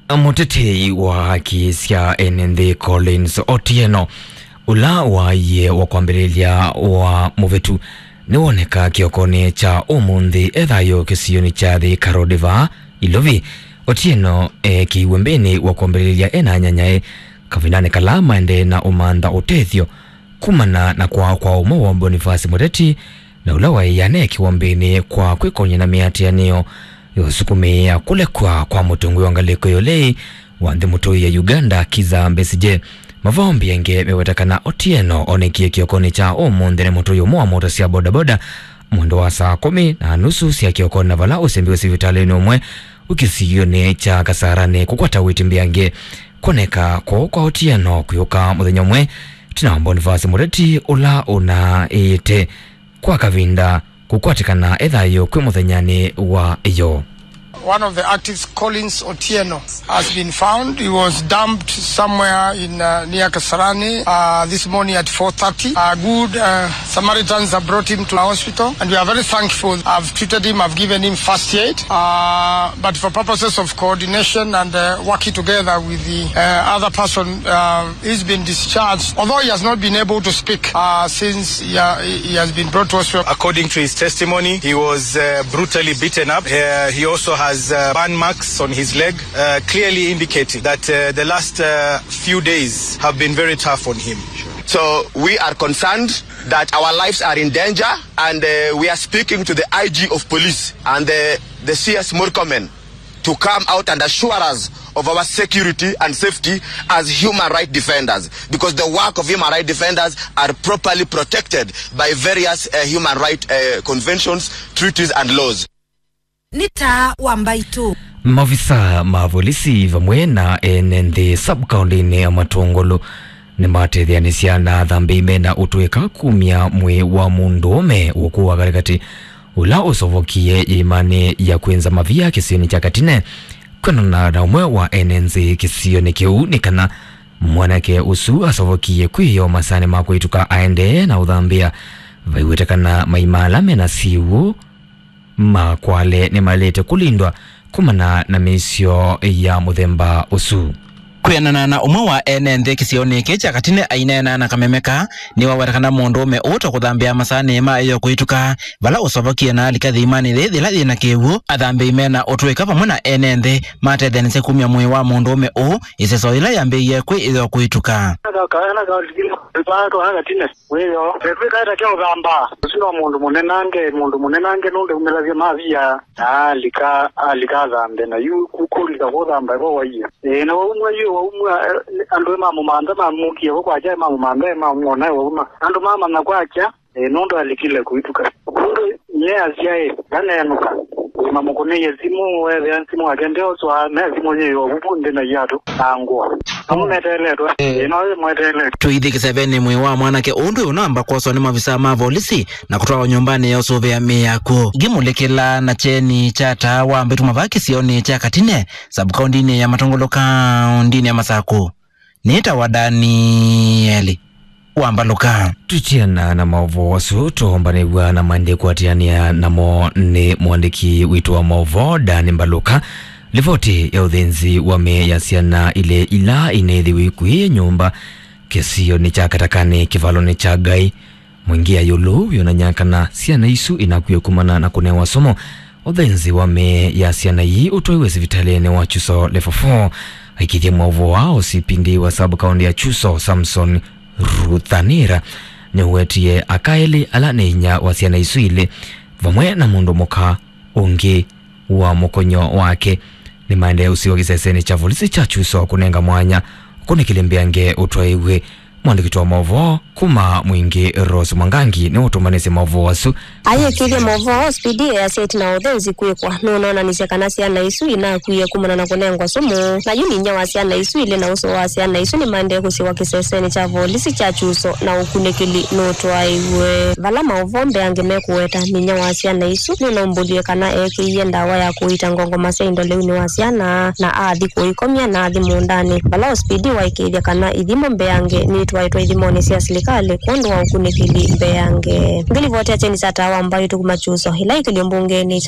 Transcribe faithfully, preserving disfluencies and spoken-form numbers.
Mũtetei wa haki sya ene nthĩ Collins Otieno, ũla waie wa kwambĩlĩlya wa mũvĩtu, nĩwoneka kĩokonĩ kya ũmũnthĩ e thayũ kĩsionĩ kya Thika Road vaa Ilovi. Otieno eekĩiwe mbĩnĩ wa kwambĩlĩlya ena anyanyae kavindanĩ kala maendee na ũmantha ũtethyo kumana na kwaa kwa ũmwe wa Boniface Mũteti, na ũla waĩ aneekiwa mbĩnĩ kwa kwĩkony'a na mĩatĩanĩo ya ũsukumĩĩa kũlekw'a kwa mũtongoi wa ngalĩko ya ũlei wa nthĩ mũtũi ya Uganda, Kizza Besigye. Mavoo mbĩange meweta kana Otieno onekie kĩokonĩ kya ũmũnthĩ nĩ mũtũi ũmwe wa mota sya bodaboda mwendo wa saa kũmi na nusu sya kĩokonĩ, na vala ũsembiwe sivitalĩnĩ ũmwe wĩ kĩsionĩ kya Kasarani kũkwata wĩti mbĩange. Kwoneka kũu kwa Otieno kwĩũka mũthenya ũmwe ĩtina wa Boniface Mũteti ũla ũnaĩĩte kwa kavinda kũkwatĩkana e thayũ kwĩ mũthenyanĩ wa ĩyoo. One of the activists, Collins Otieno, has been found. He was dumped somewhere in, uh, near Kasarani, uh, this morning at four thirty. Uh, good, uh, Samaritans have brought him to the hospital, and we are very thankful. I've treated him, I've given him first aid, uh, but for purposes of coordination and, uh, working together with the, uh, other person, uh, he's been discharged, although he has not been able to speak, uh, since he, uh, he has been brought to hospital. According to his testimony, he was, uh, brutally beaten up. Uh, he also has, uh, burn marks on his leg, uh, clearly indicating that, uh, the last, uh, few days have been very tough on him. So we are concerned that our lives are in danger, and, uh, we are speaking to the I G of police and the, the C S Murkomen to come out and assure us of our security and safety as human rights defenders, because the work of human rights defenders are properly protected by various, uh, human rights, uh, conventions, treaties and laws. Nĩ taa wa mbaitũ. Maofisa ma volisi vamwe na ene nthĩ sub-kaũntĩnĩ ya Matũngũlũ nĩmatetheanĩsya na athambĩi mena ũtũĩka kumya mwĩĩ wa mũndũũme ũkũwa katĩkatĩ ũla ũsovokie ĩĩmanĩ ya kwĩnza mavia kĩsionĩ kya Katine. Kwendana na ũmwe wa ene nthĩ kĩsionĩ kĩu, nĩ kana mwanake ũsu asovokie kwĩyoo masanĩ ma kũĩtũka aendee na ũthambĩa. Vaiw'ĩte kana maima ala mena syĩw'ũ ma kwale nĩmaĩlĩte kũlindwa kumana na mĩisyo ya mũthemba ũsu. Kwĩanana na ũmwe wa ene nthĩ kĩsionĩ kĩĩ kya Katine aineena na kameme kaa, nĩwaweta kana mũndũũme ũũ ta kũthambĩa masanĩ ma ĩyoo kũĩtũka, vala ũsovokie na alika yĩĩmanĩ yĩĩ yĩla yĩna kĩw'ũ. Athambĩi mena ũtũĩka vamwe na ene nthĩ matetheanĩsye kumya mwĩĩ wa mũndũũme ũũ ĩseso yĩla yambĩĩie kwĩ ĩyoo kũĩtũka. Wĩyo, twĩkaĩta kya ũthamba. Ũsu no mũndũ mũnenange, mũndũ mũnenange nũndũ umĩlasya mavia, na alika, alika athambe, na yu ku-, kũlika kũthamba ĩvo waie. Ĩĩ, na waumwa yu, waumwa, eh, andũ mamũmantha, mamũkie vo kwakya, mamũmantha, mamwona wauma. Andũ mamanya kwakya, ĩĩ, nũndũ alikile kũituka. Nũndũ nye asyaĩ, ndaneenũka. Mamũkũnĩie simũ, weethĩa simũ yake ndeoswa, me simũ yĩ ovuvu nthĩ na iatũ na ngũa. Amwe meteeletwe, ĩĩ, no ĩmweteeletwe. Tũithi kĩsevenĩ mwĩĩ wa mwanake ũũ ndwĩ ũnamba kwoswa nĩ mavisaa ma volisi na kũtwawa nyũmbanĩ ya ũsũvĩa mĩĩ ya kw'o. Ngĩmũlĩkĩla na kyeni kya taa wa mbĩtu mavaa kĩsionĩ kya Katine, sub-kaũntĩnĩ ya Matũngũlũ, kaũntĩnĩ ya Masakũ. Nĩtawa Danieli wa Mbalũka. Tũtiana na maũvoo asu, tũombanĩw'a na maendee kũatĩanĩa namo nĩ mũandĩki witũ wa maũvoo, Dan Mbalũka. Livoti ya ũthĩnzi wa mĩĩ ya syana ilĩ ila ineethiwe ikw'ĩ nyũmba kĩsionĩ kya Katakani kĩvalonĩ kya Ngai Mwingĩ ya ĩũlũ yonany'a kana syana isu inakw'ie kumana na kũnewa sumu. Ũthĩnzi wa mĩĩ ya syana ii ũtwaiwe sivitalĩnĩ wa Chuso Level four. Aikĩthya maũvoo aa, O C P D wa sub-county ya Chuso, Samson Ruthanira, nĩũwetie aka elĩ ala nĩ inyia wa syana isu ilĩ vamwe na mũndũ mũka ũngĩ wa mũkonyo wake nĩmaendee ũsiwa kĩsesenĩ kya volisi kya Chuso kũnenga mwanya ũkunĩkĩli mbeange ũtwaĩw'e. Mwandĩki wa maũvoo kuma Mwingĩ, Rose Mwangangi, nĩũtũmanĩsye maũvoo asu. Ayĩkĩthya maũvoo, O C P D easya ĩtina wa ũthĩnzi kwĩkwa, nũnoonanisye kana syana isu inakwie kumana na kũnengwa sumu, na yu nĩ inyia wa syana isu ilĩ na ũsũũ wa syana isu nĩmaendee kũsiwa kĩsesenĩ kya volisi kya Chuso na ũkunĩkĩli nũtwaĩw'e. Vala maũvoo mbeange mekũweta, nĩ inyia wa syana isu nĩnaumbũlye kana eekĩie ndawa ya kũita ngongoma sya indo lĩunĩ wa syana na athi kũikomya na athi mũũndanĩ. Vala O C P D waĩkĩĩthya kana ithimo mbeange nitwaĩtwe ithimonĩ sya silikalĩ kwondũ wa ũkunĩkĩli mbeange. Ngĩlivotea kyeni kya taa wa mbaitũ kuma Chuso, ĩla ĩkĩlyo mbungenĩ